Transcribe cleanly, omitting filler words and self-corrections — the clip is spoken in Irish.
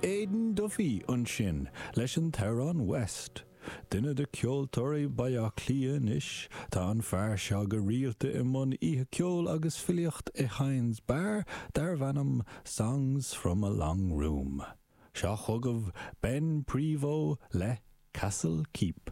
Aidan Duffy ansin leis an t-amhrán West. Duine de cheoltóirí Bhaile Átha Cliath anois, tá an fear seo go rialta i mbun oíche ceoil agus filíocht i Hynes Bar darbh ainm Songs from a Long Room. Seo chugaibh Ben Prevost le Castle Keep.